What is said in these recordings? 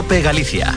COPE Galicia.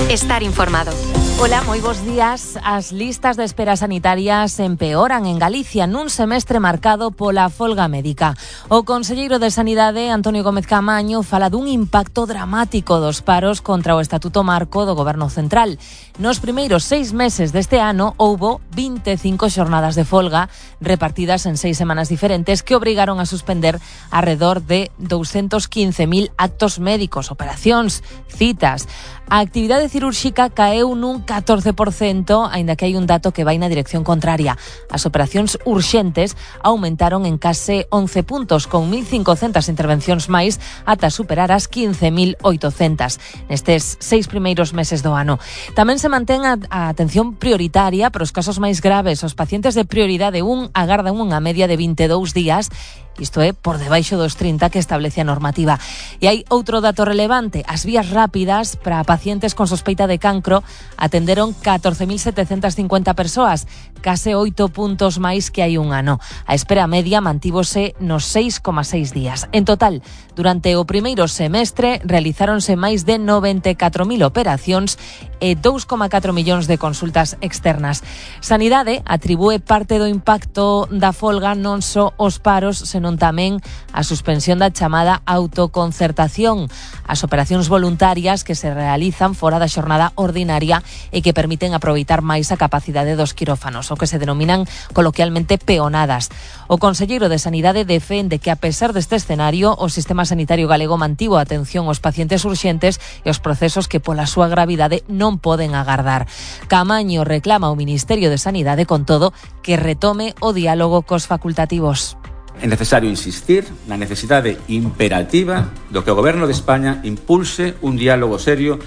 Estar informado. Ola, moi bons días. As listas de espera sanitarias empeoran en Galicia nun semestre marcado pola folga médica. O conselleiro de Sanidade, Antonio Gómez Caamaño, fala dun impacto dramático dos paros contra o Estatuto Marco do Goberno Central. Nos primeiros 6 meses deste ano houbo 25 xornadas de folga repartidas en 6 semanas diferentes que obrigaron a suspender arredor de 215.000 actos médicos, operacións, citas. A actividade cirúrxica caeu nun 14%, aínda que hai un dato que vai na dirección contraria. As operacións urxentes aumentaron en case 11 puntos, con 1.500 intervencións máis ata superar as 15.800 nestes 6 primeiros meses do ano. Tamén se mantén a atención prioritaria para os casos máis graves. Os pacientes de prioridade 1 agardan unha media de 22 días, isto é, por debaixo dos 30 que establece a normativa. E hai outro dato relevante. As vías rápidas para pacientes con sospeita de cancro atenderon 14.750 persoas, case 8 puntos máis que hai un ano. A espera media mantívose nos 6,6 días. En total, durante o primeiro semestre realizáronse máis de 94.000 operacións e 2,4 millóns de consultas externas. Sanidade atribúe parte do impacto da folga non só os paros, senón tamén a suspensión da chamada autoconcertación, as operacións voluntarias que se realizan fora da xornada ordinaria e que permiten aproveitar máis a capacidade dos quirófanos, o que se denominan coloquialmente peonadas. O conselleiro de Sanidade defende que, a pesar deste escenario, o sistema sanitario galego mantivo a atención aos pacientes urxentes e os procesos que pola súa gravidade non poden agardar. Caamaño reclama ao Ministerio de Sanidade, con todo, que retome o diálogo cos facultativos. É necesario insistir na necesidade imperativa do que o Goberno de España impulse un diálogo serio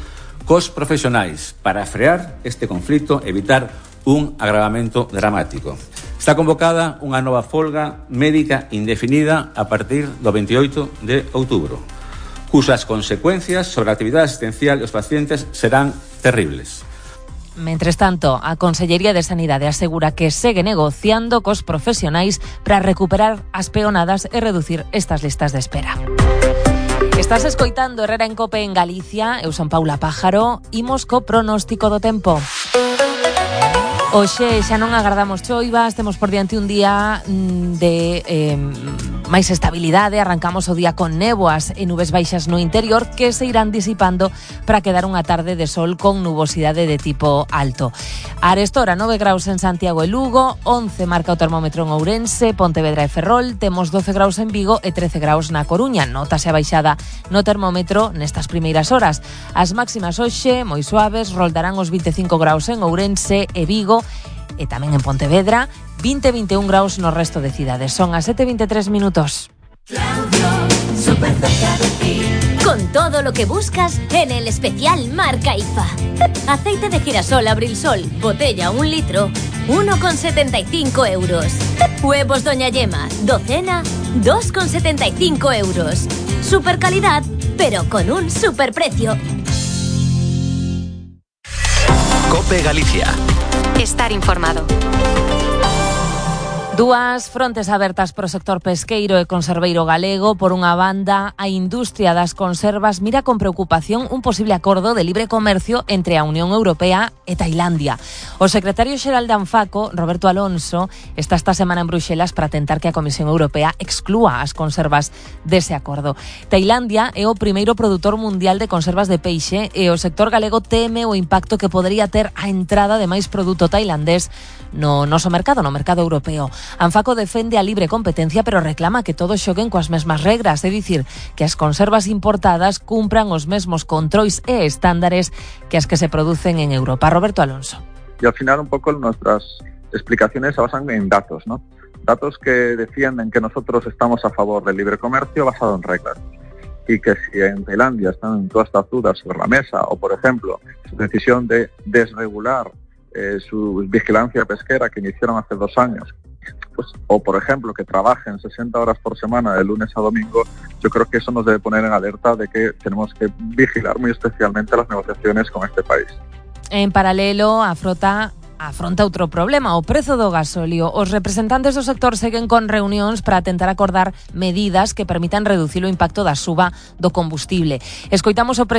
cos profesionais para frear este conflito e evitar un agravamento dramático. Está convocada unha nova folga médica indefinida a partir do 28 de outubro, cusas consecuencias sobre a actividade asistencial dos pacientes serán terribles. Mentres tanto, a Consellería de Sanidade asegura que segue negociando cos profesionais para recuperar as peonadas e reducir estas listas de espera. Estás escoitando Herrera en Cope en Galicia. Eu son Paula Pájaro. Imos co pronóstico do tempo. Hoxe xa non agardamos choivas, temos por diante un día de máis estabilidade. Arrancamos o día con néboas e nubes baixas no interior que se irán disipando para quedar unha tarde de sol con nubosidade de tipo alto. A arestora 9 graus en Santiago e Lugo, 11 marca o termómetro en Ourense, Pontevedra e Ferrol, temos 12 graus en Vigo e 13 graus na Coruña. Notase a baixada no termómetro nestas primeiras horas. As máximas hoxe, moi suaves, roldarán os 25 graus en Ourense e Vigo, e tamén en Pontevedra, 20-21 graus no resto de cidades. Son as 7:23 minutos. Súper cerca de ti. Con todo lo que buscas en el especial marca IFA. Aceite de girasol Abrilsol, botella 1 litro, 1,75 euros. Huevos Doña Yema, docena, 2,75 euros. Super calidad, pero con un super precio. COPE Galicia. Estar informado. Dúas frontes abertas pro sector pesqueiro e conserveiro galego. Por unha banda, a industria das conservas mira con preocupación un posible acordo de libre comercio entre a Unión Europea e Tailandia. O secretario xeral de Anfaco, Roberto Alonso, está esta semana en Bruxelas para tentar que a Comisión Europea exclúa as conservas dese acordo. Tailandia é o primeiro produtor mundial de conservas de peixe e o sector galego teme o impacto que podería ter a entrada de máis produto tailandés no noso mercado, no mercado europeo. Anfaco defende a libre competencia, pero reclama que todos xoguen coas mesmas regras, é dicir, que as conservas importadas cumpran os mesmos controis e estándares que as que se producen en Europa. Roberto Alonso. Y al final un poco nuestras explicaciones se basan en datos, ¿no? Datos que defienden que nosotros estamos a favor del libre comercio basado en reglas. Y que si en Tailandia están todas estas dudas sobre la mesa, o por ejemplo, su decisión de desregular su vigilancia pesquera que iniciaron hace 2 años, pues, o por ejemplo que trabajen 60 horas por semana de lunes a domingo, yo creo que eso nos debe poner en alerta de que tenemos que vigilar muy especialmente las negociaciones con este país. En paralelo, a frota afronta outro problema, o prezo do gasóleo. Os representantes do sector seguen con reunións para tentar acordar medidas que permitan reducir o impacto da suba do combustible. Escoitamos o